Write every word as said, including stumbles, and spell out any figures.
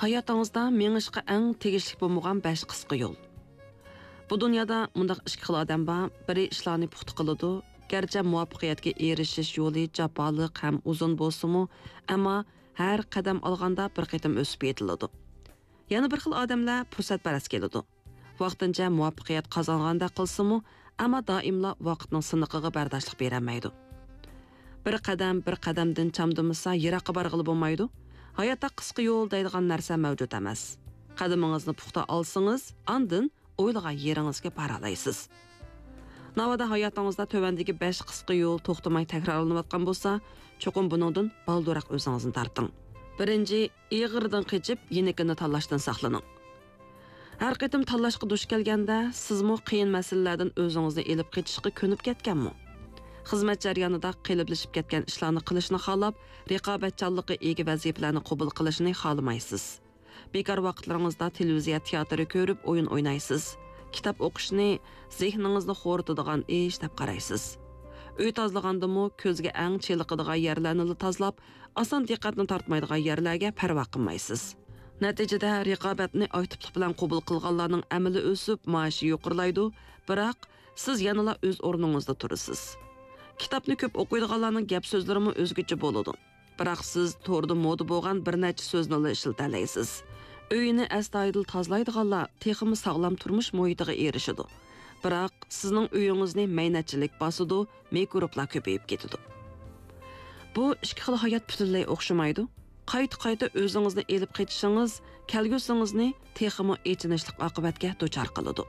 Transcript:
ھاياتىڭىزدا مېڭىشقا ئەڭ تېگىشلىك بولمىغان بەش قىسقا يول. بۇ دۇنيادا مۇنداق ئىككى خىل ئادەم بار، بىرى ئىشلارنى پۇختا قىلىدۇ، گەرچە مۇۋەپپەقىيەتكە ئېرىشىش يولى جاپالىق ھەم ئۇزۇن بولسىمۇ، ئەمما ھەر قەدەم ئالغاندا بىر قېتىم ئۆسۈپ يېتىلىدۇ. يەنە بىر خىل ئادەملەر پۇرسەتپەرەس كېلىدۇ. ۋاقتىنچە مۇۋەپپەقىيەت قازانغاندەك قىلسىمۇ، ئەمما دائىملا ۋاقىتنىڭ سىنىقىغا بەرداشلىق بېرەلمەيدۇ. بىر قەدەم، بىر قەدەمدىن چامدىمىسا، يىراققا بارغىلى بولمايدۇ. ھاياتتا قىسقا يول دەيدىغان نەرسە مەۋجۇت ئەمەس. قەدىمىڭىزنى پۇختا ئالسىڭىز، ئاندىن ئويلىغان يېرىڭىزگە بارالايسىز. ناۋادا ھاياتىڭىزدا تۆۋەندىكى بەش قىسقا يول توختىماي تەكرارلىنىۋاتقان بولسا، چوقۇم بۇنىڭدىن بالدۇرراق ئۆزىڭىزنى تارتىڭ. بىرىنچى، ئېغىرىدىن قېچىپ، يېنىكىنى تاللاشتىن ساقلىنىڭ. ھەر قېتىم تاللاشقا دۇچ كەلگەندە، سىزمۇ قىيىن مەسىلىلەردىن ئۆزىڭىزنى ئېلىپ قېچىشقا كۆنۈپ كەتكەنمۇ؟ خىزمەت جەريانىدا قېلىپلىشىپ كەتكەن ئىشلارنى قىلىشنى خالاپ، رىقابەتچانلىقى ئىگە ۋەزىپىلەرنى قوبۇل قىلىشنى خالىمايسىز. بىكار ۋاقىتلىرىڭىزدا تېلېۋىزىيە تىياتىرى كۆرۈپ ئويۇن ئوينايسىز. كىتاب ئوقۇشنى زېھنىڭىزنى خورىتىدىغان ئىش دەپ قارايسىز. ئۆي تازىلىغاندىمۇ كۆزگە ئەڭ چېلىقىدىغان يەرلەرنىلا تازىلاپ، ئاسان دىققەتنى تارتمايدىغان يەرلەرگە پەرۋا قىلمايسىز. نەتىجىدە، رىقابەتنى ئاكتىپلىق بىلەن قوبۇل قىلغانلارنىڭ ئەمىلى ئۆسۈپ، مائاشى يۇقىرىلايدۇ، بىراق سىز يەنىلا ئۆز ئورنىڭىزدا تۇرىسىز. كىتابنى كۆپ ئوقۇيدىغانلارنىڭ گەپ سۆزلىرىمۇ ئۆزگىچە بولىدۇ. بىراق سىز توردا مودا بولغان بىر نەچچە سۆزنىلا ئىشلىتەلەيسىز. ئۆيىنى ئەستايىدىل تازىلايدىغانلار تېخىمۇ ساغلام تۇرمۇش مۇھىتىغا ئېرىشىدۇ. بىراق سىزنىڭ ئۆيىڭىزنى مەينەتچىلىك باسىدۇ، مىكروبلار كۆپىيىپ كېتىدۇ. بۇ ئىككى خىل ھايات پۈتۈنلەي ئوخشىمايدۇ. قايتا-قايتا ئۆزىڭىزنى ئېلىپ قېچىشىڭىز كەلگۈسىڭىزنى تېخىمۇ ئېچىنىشلىق ئاقىۋەتكە دۇچار قىلىدۇ.